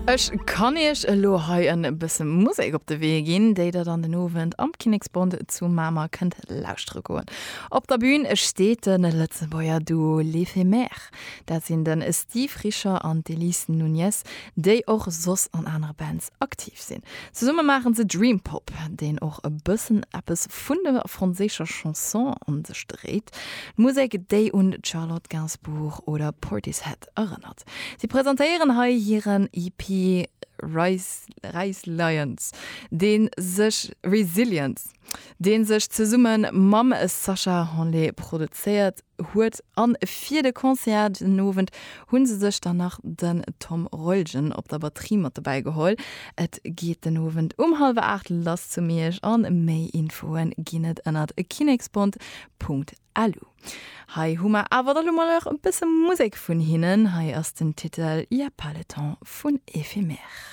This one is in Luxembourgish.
Ech kann iech elo hei en bësse Musek op de Wee ginn, déi der dann den Owend am Kinneksbond zu Mamer kënnt lauschtere goen. Op der Bün steet de Lëtzebuerger Duo L'Ephemère. Dat sinn de Steve Richer an d'Elise Nunez, déi och soss an anere Bands aktiv sinn. Zesumme maachen se Dream Pop, deen och e bëssen eppes vun der franséischer Chanson an sech dréit. Musek, déi un d'Charlotte Gainsbourg oder Portishead erënnert. Si presentéieren hei hiren EP Resilience, dee sech Resilience, dee sech zesumme mam Sacha Hanlé produzéiert huet. An fir de Concert den Owend hu se sech dann nach den Tom Reulgen op der Batterie mat dobäi geholl. Et geet den Owend um hallwer 8 lass zu Miersch an méi Infoe ginn et ënnert kinneksbond.lu. Hei hu mer awer da lo mol nach e bësse Musek vun hinnen. Hei ass den Titel Y a pas le temps vun Éphémère.